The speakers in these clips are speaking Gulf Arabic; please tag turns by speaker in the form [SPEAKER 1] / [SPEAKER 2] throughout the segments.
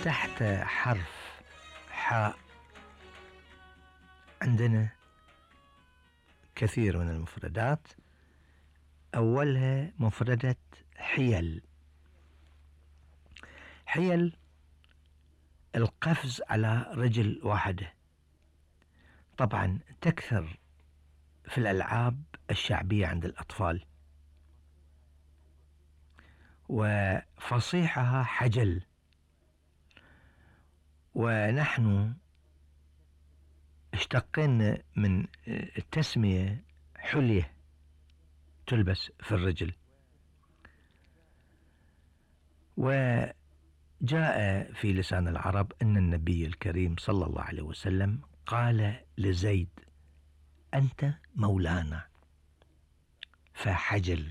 [SPEAKER 1] تحت حرف حاء عندنا كثير من المفردات. أولها مفردة حيل. حيل القفز على رجل واحدة، طبعا تكثر في الألعاب الشعبية عند الأطفال، وفصيحها حجل. ونحن اشتقنا من التسمية حلية تلبس في الرجل. وجاء في لسان العرب أن النبي الكريم صلى الله عليه وسلم قال لزيد: أنت مولانا، فحجل.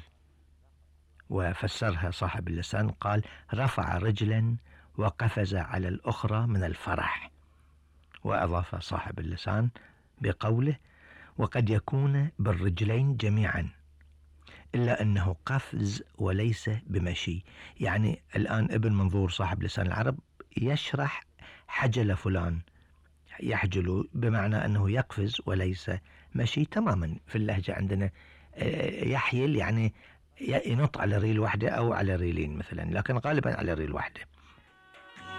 [SPEAKER 1] وفسرها صاحب اللسان قال: رفع رجلا وقفز على الأخرى من الفرح. وأضاف صاحب اللسان بقوله: وقد يكون بالرجلين جميعا، إلا أنه قفز وليس بمشي. يعني الآن ابن منظور صاحب لسان العرب يشرح حجل فلان، يحجل بمعنى أنه يقفز وليس مشي. تماما في اللهجة عندنا يحيل يعني ينط على ريل واحدة أو على ريلين مثلا، لكن غالبا على ريل واحدة.